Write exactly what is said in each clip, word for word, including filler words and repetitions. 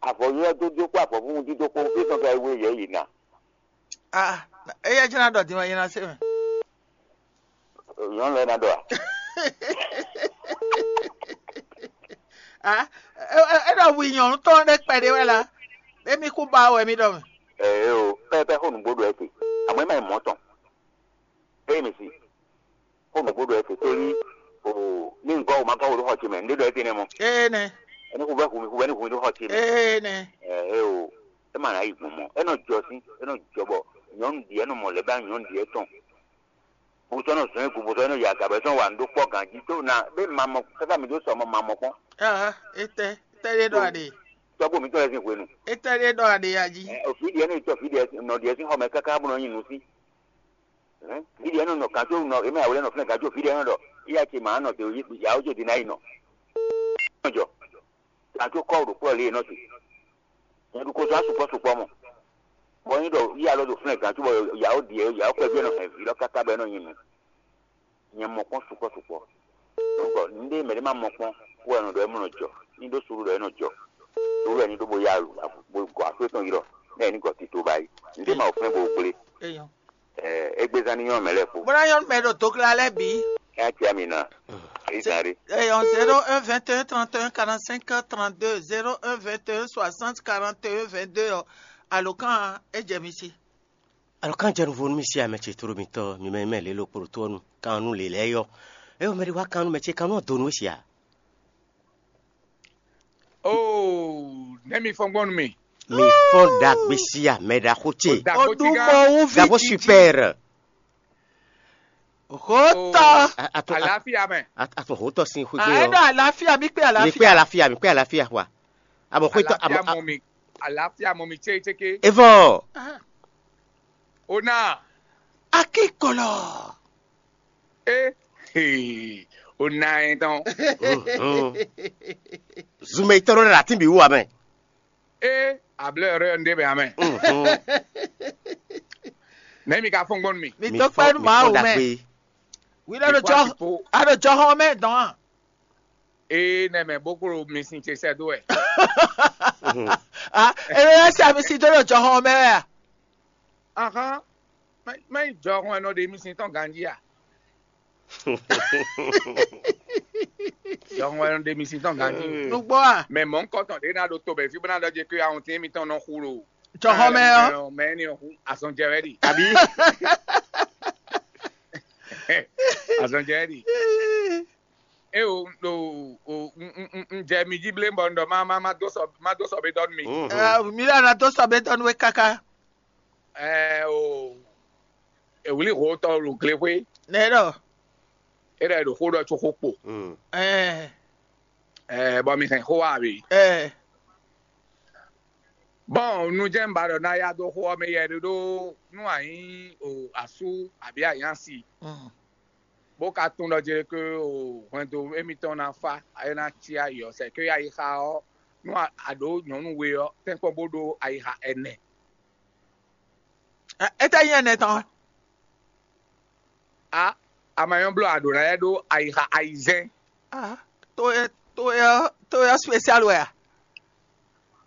Avɔ ylɔ́ dó dó kpó avɔ vúvú dídó kpó, é tɔn ka yi wé yɛ yi ná. Ah, eya jẹ́ ná ɖɔ din wɛ yẹn ná se mɛ. Nyɔnu lɛ ná ɖɔ a? Ah, e ɖɔ wi nyɔnu tɔn ɖe kpɛɖé wɛ la, emi kú ba wɛ mi ɖɔ mɛ. Ɛɛ o, pɛpɛ xó nǔgbó ɖo ɛ te. Àmọ́ ɛ má yi mɔ̌ tɔn. Eye mi si. Xó nǔgbó ɖo ɛ te tóli. O, ní ŋgɔ́ o ma gɔ́ o ɖó xɔ ce mɛ, ǹdé ɖɔ ɛ te nɛ mɔ. Ee nɛ. Ɛni xuvɛ hu mi, xuvɛ ní hu mi ɖó xɔ ce mɛ. Ee nɛ. Ɛɛ o, ɛ má ná yi gbɔn mɔ. Ɛ nɔ jɔ sí, ɛ nɔ jɔ bɔ nyɔnu ɖi ɛ nɔ mɔ lɛ bá nyɔnu ɖi ɛ tɔn. Bosɔnɔ zɔn egu bosɔnɔ ya gabɛ sɔn wa ndo kpɔ ganji to na be mamɔ kaka mi do sɔmɔ mamɔ kpɔn. Ah, etɛ, etɛ ɖe ɖɔ aɖe. Tɔgbo mi tɔ lɛ sin hwenu. Etɛ ɖe ɖɔ aɖe ya ji. Ɛ, ofi diɛ ne tɔ fi diɛ nɔ diɛ sin xɔmɛ kaka bɔ nɔ nyi nu si. Ɛ, fi diɛ nɔ nɔ kan to nɔ eme awolɛ nɔ flɛ kan to fi diɛ nɔ dɔ. Iya ce ma nɔ te ya o jo di na yi nɔ. Jɔ. Kan to kɔ ɖo kplɔ li nɔ te. Nyɛ ɖu ko zɔn sukpɔ sukpɔ mɔ. Bɔ nyi ɖɔ yi alɔ ɖo flɛ gan cóbɔ yawo ɖiɛ yawo kpɛví ɛnɔ hɛn vǐ lɔ káká bɔ ɛnɔ nyi nu. Nyɛ mɔ kpɔn sukpɔ sukpɔ. Donc nɖe mɛ ɖe ma mɔ kpɔn wɛ ɛnɔ ɖɔ ɛmɔ nɔ jɔ. Ní ɖó suru ɖɔ ɛnɔ jɔ. Suru ɛni ɖó bo ya alu bo gɔ aƒe tɔn ylɔ. Ne ɛni gɔ tito ba yi. Nɖe ma wɔ fɛn bo gblé. Eyɔn. Ɛ, égbézán ní nyɔ́ mɛ lɛ́ɛ kpó. Bó ná nyɔ́ mɛ ɖo dogla lɛ́ɛ bǐ. Ɛ cia mi na. Èyí zan ɖé. Eyɔn zéro un vingt et un trente et un quarante-cinq trente-deux, zéro un vingt et un soixante quarante et un vingt-deux ɔ, alǒkan ɔ́, é jɛ mi sí. Alǒkan jɛ nuvo nú mì sí amɛ ce tlóló mitɔn, mi mɛ mɛ lě lo kpo ɖo tó ɔ́ nu, kan nú lě lɛ́ɛ yɔ. É mɛ ɖé wá kan nú mɛ ce, kan nú ɔ́ do nú we sia. Oo, nɛ́ mi fɔ́n gbɔn nú mì. Mi fɔ́n ɖagbe sí amɛ ɖaxó ce. Ɖaxó Oɖumɔwú ví Ɖaxó jiji. Super. Hotɔ. A- a tún- a- Àlàáfíà mɛ. a- a tún hotɔ sín xwé gbé Àyẹ̀dọ̀ ɔ. Àlàáfíà, mi pé Mi kpé àlàáfíà. Àlàáfíà, mi kpé àlàáfíà wa. Àmọ́ xwé tɔ Àlàáfíà àmọ́. Mɔ mi. Àlàáfíà mɔ mi chéchéké. Evɔ. Ó náà. Akíkọlọ. É. Hey, ó ná ɛ tán. Zumɛ itɔrɔ ɖe la ti bi wu amɛ. É, ablɛ rɛ ndé bɛ amɛ. Nɛ mi ka fɔn gbɔn mi. Mi Mi tó fɔ- pẹ́ nu mi máa fɔ wò mẹ́. Dagbe. Wí lọ́dọ̀ jọ Ìfọ́ àsìkò. Àdó jọ hàn mẹ́ dán. É nɛ mɛ bó kúrò mi sin ce sɛ dó ɛ. Ah, èrè yẹn sí àmì sí dọ́dọ̀ jọ hàn mẹ́ wẹ́ à. Ahán, mɛ jɔ hɔn ɛ nɔ ɖe mi sin tɔn ganjí a? Jɔ hɔn ɛ nɔ ɖe mi sin tɔn ganjí. Nugbó à. Mɛ mɔ̌ ŋkɔtɔn ɖé ná ɖo to bɛ̌ fí bó ná ɖɔ jɛ kí ahun tín mitɔn nɔ xu ɖo. Jɔ hɔn mɛ ɔ. Mɛ ni hu azɔn jɛ wɛ ɖi. Àbí? Azɔn jɛ wɛ ɖi. É o, o, o, un, un, un, un jɛ mi jí blé bɔ un ɖɔ má, má, má dó sɔ, má dó sɔ bé dɔn mi. Mhm. Ah, mi lɛ na dó sɔ bé dɔn we káká. Ɛ o, ewlí ho tɔ lo glexwé. Nɛ ɖɔ. É ɖɔ ɖo xó ɖɔ tso xó kpo. Mm. Ɛ. Ɛ, bɔ mi hɛn xó wa abi. Ɛ. Bɔn nu jɛn ba ɖɔ na ya dó xó ɔ́ mɛ yɛ ɖe ɖó nú anyí o asú abǐ anyási. Mm. Bó ka tunwun ɖɔ jɛ ke o hwɛndo émítɔn ná fá, é ná cí ayǐ ɔ́, sɛ ké ayixa ɔ́, nú a- a ɖǒ nyɔ̌nu we ɔ́, tɛ́nkpɔ́n bó ɖó ayixa ɛnɛ. Ɛ- Étɛ́ nyí ɛnɛ tɔn? A a ma nyɔ́ bló a ɖǒ ná lɛ́ ɖó ayixa ayizɛ́n. Ah, to e to e to e spécial wɛ a?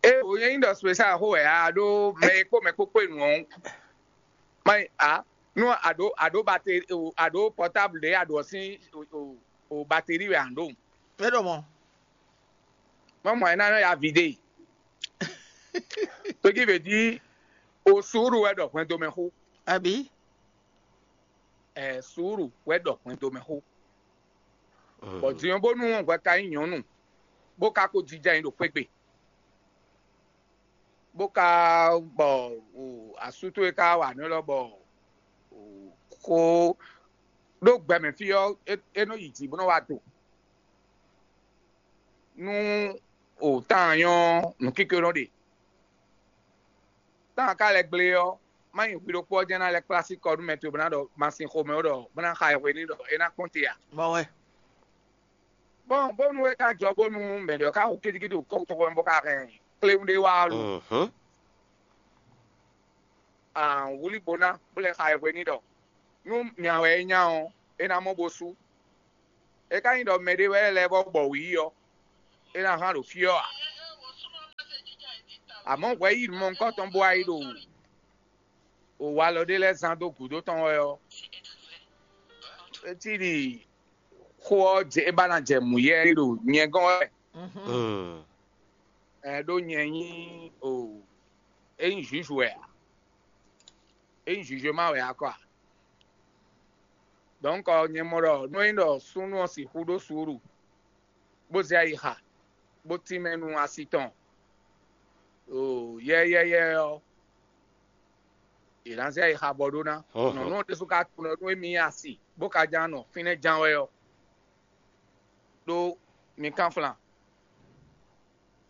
É o nyɛ nyí ɖɔ spécial xó wɛ a ɖó mɛ e kpó mɛ kpókpó e nǔ ɔ́. Má nyí a nú a ɖǒ a ɖǒ bateri o a ɖǒ pɔtáblu ɖě a ɖǒ ɔ́ sín o o o bateri wɛ a ɖǒ. É ɖo mɔ. Má mɔ ɛ ná nɔ ya vidé. Tójí vě jí o suúɖu wɛ ɖɔ hwɛndo mɛ xó. Àbí? Ɛ suúɖu wɛ ɖɔ hwɛndo mɛ xó. Bɔ din ɔ́ bónú hwɛ ka nyí nyɔ̌nu, bó ka ko jija nyi ɖo xwé gbe, bó ka bɔ o asú towe ka wa nǔ élɔ́ bɔ o xó ɖó gbɛmɛ fí ɔ́, é é nɔ yi jǐ bó nɔ wá do. Nú o tán nyɔ́ nǔkíké nɔ ɖe. Tán ka lɛ́ gblé ɔ́, má nyi hwi ɖokpó ɔ́ jɛ́n ná lɛ́ kplá sí kɔ nú mɛ towe bó ná ɖɔ ma sin xomɛ ó ɖɔ bó ná xa ɛ hwe n'i ɖɔ é ná kpɔ́n te ǎ. Bɔ wɛ. Bɔn bónú é ka jɔ bónú mɛ ɖě ɔ́ ka xo kídíkídí ɖo kɔ́xotɔ́xo mɛ bó ka hɛn kléwún ɖé wá ɔ́ lu. Mhm. Wlí bó ná bó lɛ́ xa ɛ hwe n'i ɖɔ nú nya wɛ é nya ɔ́, é ná mɔ bó sú. É ka nyí ɖɔ mɛɖé wɛ lɛ́ vɔ́ bɔ wǔ yi ɔ́, é ná hán ɖo fí ɔ́ ǎ. Amɔ̌ hwɛ yí mɔ̌hunkɔtɔn bó wá yi ɖo walɔ ɖé lɛ́ɛ zán dó gǔdo tɔn wɛ ɔ́, é cí ɖi xó ɔ́ jɛ é ba ná jɛ mǔ yɛ ɖo nyɛ gɔ́n wɛ. Ɛ ɖó nyɛ nyí o é nyí juge wɛ a? É nyí juge ma wɛ a kɔ a? Donc nyɛ mɔ ɖɔ nú é nyí ɖɔ súnnu ɔ́ sixú ɖó suúlu bó zé ayixa bó tínmɛ nú asi tɔn o yɛyɛyɛ ɔ́, è nǎ zé ayixa bɔ ɖó ná. Nyɔ̌nu ɔ́ ɖésú ka tunɔ nú émí nyi asi bó ka ján nɔ fínɛ́ ján wɛ ɔ́, ɖó mi kánflan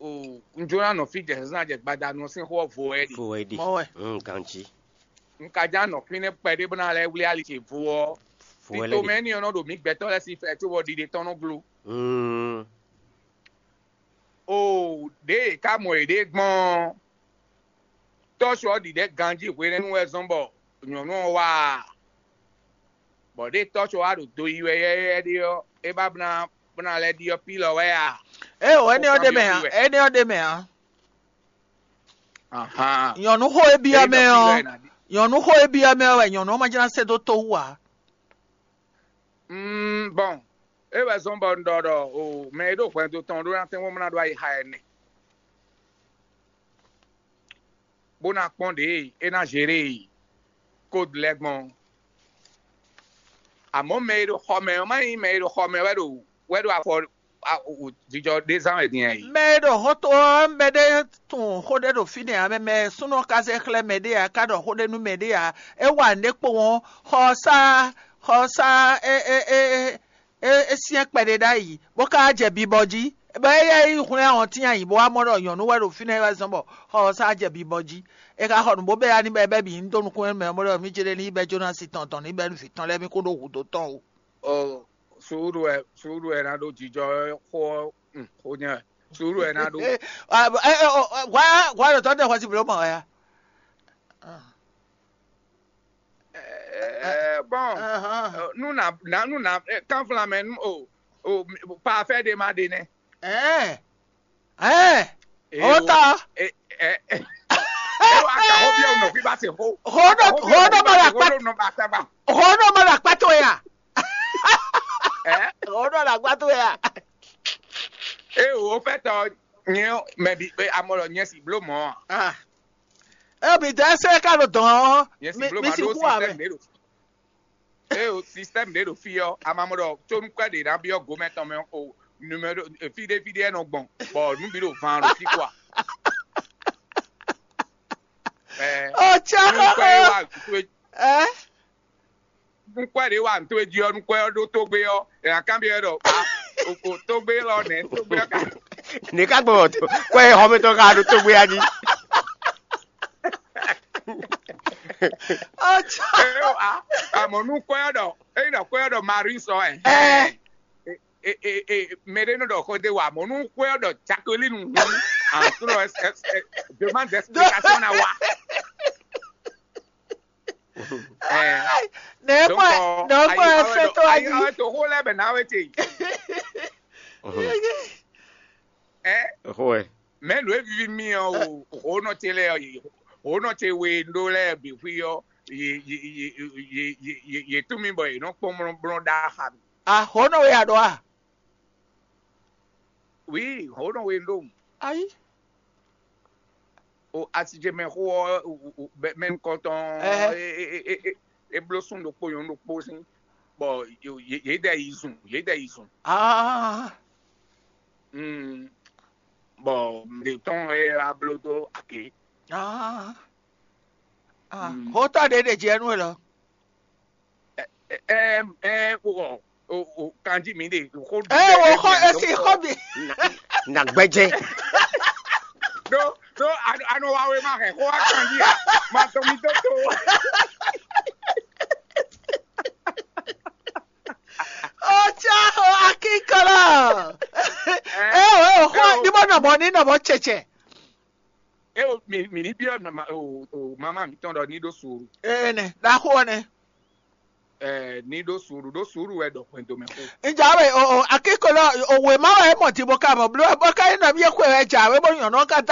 o un jló ná nɔ fí jɛ zǎnzǎn jɛ gbadanu ɔ́ sín xó ɔ́ vo wɛ ɖi. Fo wɛ ɖi. Mɔ wɛ. Mm, ganjí. Un ka ján nɔ fínɛ́ kpɛɖé bó ná lɛ́ wlí ali ce vo ɔ́, Fo wɛ lɛ tito ɖi. Mɛ énɛ́ ɔ́ nɔ ɖo mǐ gbɛtɔ́ lɛ́ɛ sín fɛ cóbɔ ɖiɖe tɔn nɔ gló. Mm. O ɖěe è ká mɔ yěɖée gbɔn ɔ́, tɔ́ sɔ ɔ́ ɖiɖɛ ganjí hwenɛ́nu wɛ zɔ́n bɔ nyɔ̌nu ɔ́ wá a? Bɔ ɖěe tɔ́ sɔ wá ɖo do yi wɛ yɛ́yɛ́ ɖé ɔ́, é ba bó ná bó ná lɛ́ ɖyɔ́ pí lɔ wɛ a? Ée o, énɛ́ ɔ́ ɖe mɛ ǎ, énɛ́ ɔ́ ɖe mɛ ǎ. Ahan. Nyɔ̌nu xó e byɔ́ mɛ ɔ́, nyɔ̌nu xó e byɔ́ mɛ ɔ́ wɛ nyɔ̌nu ɔ́ ma jlá se dó tó wú ǎ. Mm, bɔn é wɛ zɔ́n bɔ un ɖɔ ɖɔ o mɛ e ɖo hwɛndo tɔn ɖó ná tɛ́nwó mlá ɖó ayixa ɛnɛ, bó ná kpɔ́n ɖě e é ná zeré kódu lɛ́ɛ gbɔn. Amɔ̌ mɛ e ɖo xɔ mɛ ɔ́, má nyí mɛ e ɖo xɔ mɛ wɛ ɖo wɛ ɖo afɔ jijɔ ɖé zán wɛ din ɛ yi. Mɛ e ɖo xɔ́ntɔn ɔ́, mɛ ɖé tunwun xó ɖé ɖo fínɛ́ ǎ, mɛ mɛ súnnu ɔ́ ka zé xlɛ́ mɛ ɖé ǎ, ká ɖɔ xó ɖé nú mɛ ɖé ǎ. É wa nǔɖé kpowun ɔ́, xɔ ɔ́ sá xɔ ɔ́ sá é é é é é é syɛ́n kpɛɖé ɖ'ayǐ, bó ka wá jɛ bibɔ jí, bɔ éyɛ́ yi hwlɛ́n ahɔntín ayǐ, bó wá mɔ ɖɔ nyɔ̌nu wɛ ɖo fínɛ́ wɛ zɔ́n bɔ xɔ ɔ́ sá jɛ bibɔ jí. È ka xɔ nǔ bó bɛ́ ya n'i bɔ é bɛ́ bǐ ní dó nukún émí mɛ, bó ɖɔ mí jlé ní yi bɛ́ Jonasi tɔn tɔn ní bɛ́ nú vǐ tɔn lɛ́ɛ mí kó ɖó hǔ dó tɔn o. O suúlu wɛ suúlu wɛ ná ɖó jijɔ xó ɔ́, xó nyɛ wɛ. Suúlu wɛ ná ɖó. Hwa hwa ɖo tɔ́ tɛ xɔ sí blǒ mɔ wɛ ya. Ɛ, bɔn Ahan. Ɛ, nú nà nà nú nà ɛ, kánflán mɛ nú o o parfait ɖé ma ɖe nɛ. Ɛɛ ɛɛ Eye o ta ɛ ɛ ɛ wa ka xɔ biɛ nɔ fi ba se xo. Xɔ nɔ xɔ nɔ ma la kpa Xo nɔ ba ta ba. Xɔ nɔ ma la kpa to ya. Ɛ Xɔ nɔ la kpa to ya. Eye o fɛ tɔ nyɛ mɛ bi amɔ lɔ nyɛ si blo mɔ. Ah. Ɛ mi dɛ sɛ ka ɖo dɔn ɔ. Nyɛ si Mi blo mi ma si ɖo ku amɛ. Système ɖe ɖo. Eye o système ɖe ɖo fi ɔ amamɔ ɖɔ tsónúkwɛ ɖe ná biɔ gomɛ tɔn mɛ o numéro fíɖé fíɖé ɛ nɔ gbɔn bɔ nú bi ɖo van ɖo fi kɔa. Ɛ Ɔ tsɛ nukpɛ e wa nto e Ɛ nukpɛ ɖe wa nto e jí ɔ nukpɛ ɔ ɖo tógbé ɔ ɛ akanbi ɛ ɖɔ a o o tógbé lɔ nɛ tógbé ɔ ka. Ní ká gbɔn tó kó ẹ xɔmɛ tɔ ká ɖo tógbé ya jí. Ɔ tsɛ. Ɛ o a amɔ nukpɛ ɔ ɖɔ eyi ɖɔ kpɛ ɔ ɖɔ Marie sɔ ɛ. Ɛ e e e mɛɖé nɔ ɖɔ xɔ de wa mɔ nú xwé ɔ ɖɔ Jacqueline hu àtúrò ɛ ɛ demande d'explication na wa. Ɛ Nɛ kɔ nɛ kɔ ɛ fɛ to ayi. Ayi to xó lɛ bɛ na wɛ te. Ɛ Xó ɛ. Mɛ nǔ e vivi mi ɔ o xó nɔ te lɛ ɔ xó nɔ te we ɖó lɛ bǐ xwí ɔ ye ye ye ye ye ye ye tún mi bɔ ye nɔ kpɔn mlɔmlɔ ɖa xa mi. Ahɔnɔ we aɖɔ a? Oui, xó nɔ we ɖó. Ayi. O asijɛ mɛ xó ɔ mɛ nukɔntɔn Ɛhɛ. E e e e e bló sún ɖokpó nyɔnu ɖokpó sín bɔ yě yě dɛ yi zun yě dɛ yi zun. Ah. Mm. Bɔ mɛ tɔn e abló dó ake. Ah. Ah. Mm. Xótɔ ɖe ɖe jɛ nú e lɔ. Ɛ ɛ ɛ o o o kanji mi de xó. Ɛ wo xɔ esi xɔ mi. Na gbɛjɛ. Do do ano ano wa we ma hɛ xó wa kanji a ma tɔ mi to to. Otsa o akikɔlɔ. Ɛ o o xɔ ni mo nɔ mɔ ni nɔ mɔ tsɛtsɛ. E o mi mi ni biɔ mama o o mama mi tɔn dɔ ni ɖo suru. Ene ɖaxo ne. Ɛ ni ɖo suru ɖo suru wɛ dɔ hwɛndo mɛ xo. Njawe o o akikolo o wema wɛ mɔ ti bo ka mɔ blo bɔ ka yi nɔ mi ye xwe wɛ jawe bo nyɔnɔ ka da